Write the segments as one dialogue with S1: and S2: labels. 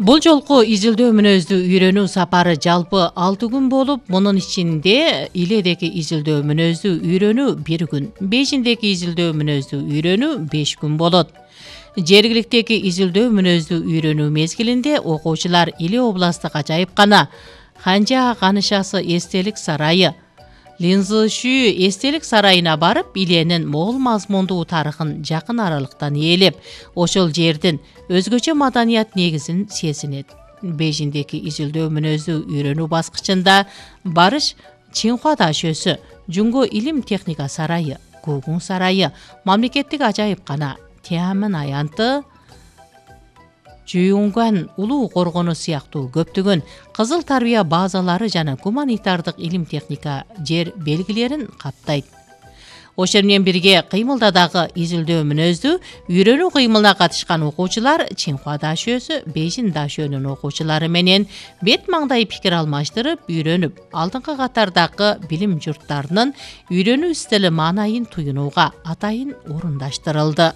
S1: Бул жолку изилдөө мүнөздү үйрөнүү сапары жалпы 6 күн болуп, мунун ичинде иледеги изилдөө мүнөздү үйрөнүү 1 күн, бешиндеги изилдөө мүнөздү үйрөнүү 5 күн болот. Жергиликтеги изилдөө мүнөздү үйрөнүү мезгилинде окуучулар Иле областтык ажайыпкана Ханжа Канышасы эстелик сарайы, Линзышүү эстелик сарайына барып, Иленин мол мазмундуу тарыхын жакын аралыктан ээлеп, ошол жердин өзгөчө маданият негизин сезинет. Бешиндеги изилдөө мүнөздү үйрөнүү баскычында барыш Чинхуа дашөсү, Жунго илим техника сарайы, Гугун сарайы, мамлекеттик ажайыпкана, Тианьмэн аянты, Жуюнган улуу коргону сыяктуу көптөгөн кызыл тарбия базалары жана гуманитардык илим техника жер белгилерин каптайт. Ошол менен бирге кыймылда дагы изилдөө мүнөздү үйрөнүү кыймылына катышкан окуучулар Чинхуа дашөсү, Бейжин дашөнүн окуучулары менен бет маңдай пикир алмаштырып, үйрөнүп, алдыңкы катардагы билим журттарынын үйрөнүү стили маанайын туюнууга атайын орундаштырылды.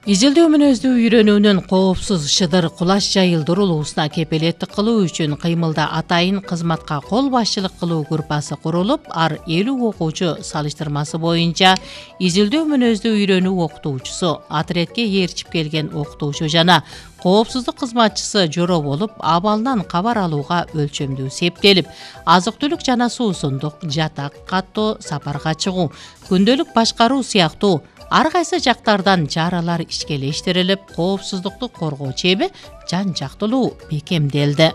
S1: Изилдөө мүнөздү үйрөнүүнүн коопсуз шыдыр кулаш жайылдырылуусуна кепилеттик кылуу үчүн кыймылда атайын кызматка кол башчылык кылуу группасы курулуп, ар 50 окуучу салыштырмасы боюнча изилдөө мүнөздү үйрөнүү окутуучусу, отредке ээрчип келген окутуучу жана коопсуздук кызматчысы жороо болуп, абалынан кабар алууга өлчөмдүү септелип, азык-түлүк жана суусундук, жатак каттоо, сапарга чыгуу, күндөлүк башкаруу сыяктуу ар кайсы жактардан чаралар ишкелештирилип, коопсуздукту коргоо чеби жан жактылуу бекемделди.